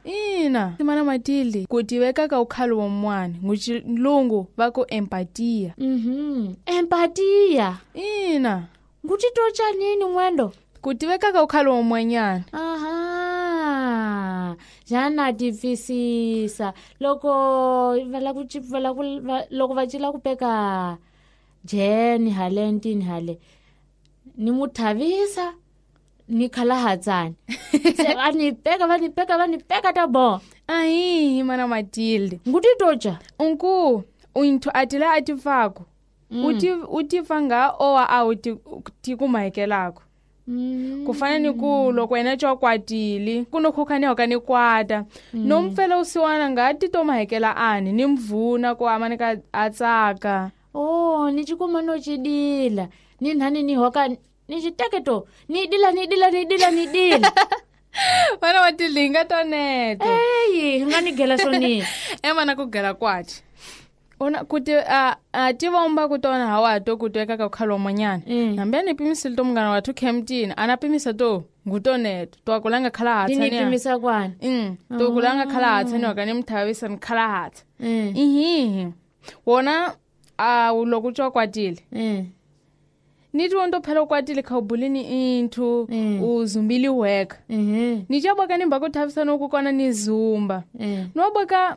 Ina mana Matilde, ku tiveka ka ukhale wa mwana nguchilungu va ku empatia. Empatia. Ina. Ngutitocha nini ngwendo? Ku tiveka ka ukhale wa mwanyana. Aha. Jana tivisisa loko va la ku va la ku loko va cila ku peka Jen hale ntini hale ni mu thavisa ni khalahatsani se va ni peka va ni peka va ni peka ta bo. Ahihi mana Matilde. Ngutitocha. Unku unthu atila atifako. Uti nga owa a uti tikumahekelako. Ku fana ni ku loko wena co kwatile ku no khukhani hoka ni kwata. No mpfela usiwana nga ti to mahekela ani ni mvuna ku amani ka atsaka. Oh, ni chikuma no chidila. Ni nhani ni hoka ni chiteke to. Ni dila ni dila ni dila ni dila. Mana Matilde nga toneto. Eyi, nga ni gela soni. Emana ku gela kwathi. Ona kuti a tivomba kutona hawa to kuteka ka khalo manyana. Nambe ni pimisile to mngana wathu Kempton ana pimisa to ngutoneto to akulanga khala hatsa ni pimisa kwani. To kulanga khala hatsa ni wakani mthavisa ni khala hatsa. Ihihi. Wona a loko tswa kwatile. Ni tiwondo phela kwatile khawubulini inthu uzumbili weka. Ni chaboka ni mbako thavisa no kukona ni zumba. No boka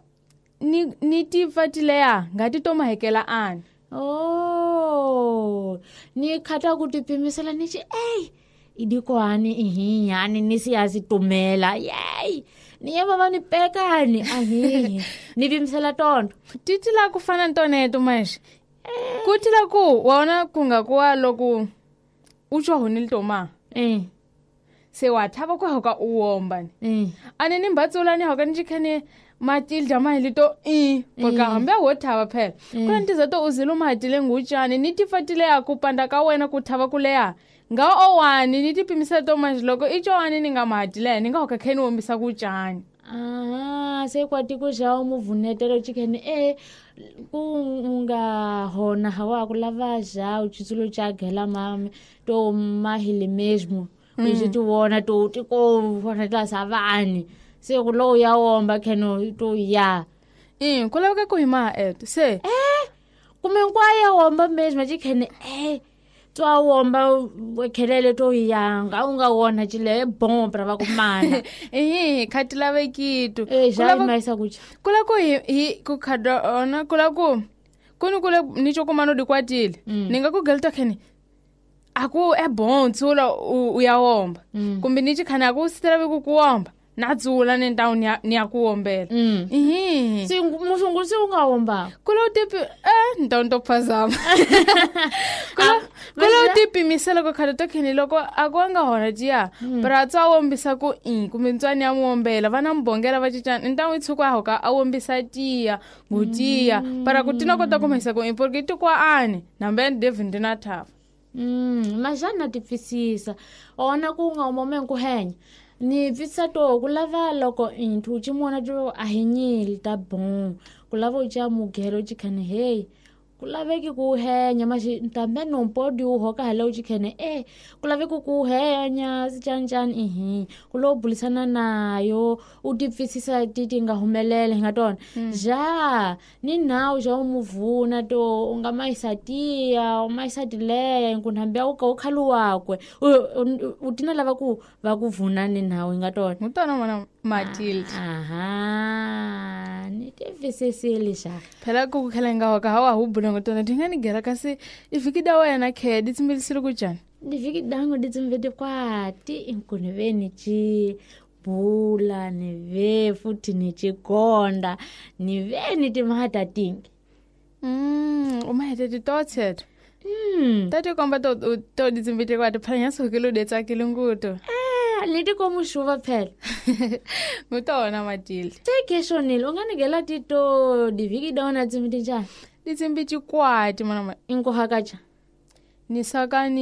ni tifatileya ngati to mahekela ani. Oh, ni khata ku tipimisela ni chi ey idikwani ihi yani ni siyazi tumela yey ni yeva va ni pekani ahihi ni pimisela tondo titila ku fana ntoneto manje kutila ku wona kunga kuwa loku utsho honile toma se wa thaba ku hoka uwomba ni ane ni mbatsulani hoka ni chikhene Matilda mahili to porque hambe wo thaba phela kuna ntiza to uzile umahatile ngutshani ni tifatile ya kupanda ka wena ku thaba kuleya nga owani ni tipimisa to manje loko ichowani ni nga mahatile ni nga hoka kheni wombisa kutshani. Ah, se kwati ku xa muvunetelo chikhene ku nga hona hawa ku lava xa uchitsulo cha gela mame to mahili mesmo u ti vona to ti ko vona tla savani se ku lo ya womba kheno to ya ku laveka ku hima eto se kumbe nkwa ya womba mesmo chikhene twa womba khelele to yanga u nga wona chile bon pra va kumana. Khati lavekitu xa maisa kucha kula ku hi ku khada ona kula ku kuni kule ni chokumano dikwatile ni nga ku gelta khene aku e bon tsula u ya womba kumbe ni chikhana aku sitela ku kuwomba na dzula ni ndawu ni ya kuwombela. Si musungu si unga womba kula utipi ndawu ndo phazama. Kula utipimisela ko khale to khini loko akwanga hona tiya bara tswa wombisa ku kumbe ntswani ya muwombela vana mbongela va cicana ndawu itshuka hoka a wombisa tiya ngutiya para ku tina kota kumisa ku porque tikwa ani nambe David ndina thava. Majana tipfisisa ona ku nga umome ku henya ni pfisa to ku lava loko inthu chimona to ahinyile ta bon ku lava u cha mugero chikhane hey ku laveki ku henya mashi ntambe no mpodi u hoka hala u chikhene ku laveki ku henya sichanchan ihi ku lo bulisana nayo u tipfisisa titi nga humelele nga tona ja ni nawu ja umuvuna to u nga maisa tiya u maisa tileya nkunhambe u ka u khalu wakwe u tina lava ku va ku vuna ni nawu nga tona mutona mwana Matilde. Aha ni tivisisile xa phela ku khela nga hoka hawa hubula ngotona tingani gela kasi ivhiki da wena khe ditsimbilisile kujani divhiki dango ditsimbete kwati inkuni veni chi bula ni ve futhi ni chigonda ni veni timhata tingi umahete titotsetho tati komba to ditsimbete kwati phela nyasukile udetsakile nguto leti komushuva phela ngutona Matilde teke shonile unganigela tito divhiki dona tsimbiti njani ditsimbi chikwati mana inkuhakacha ni sakani.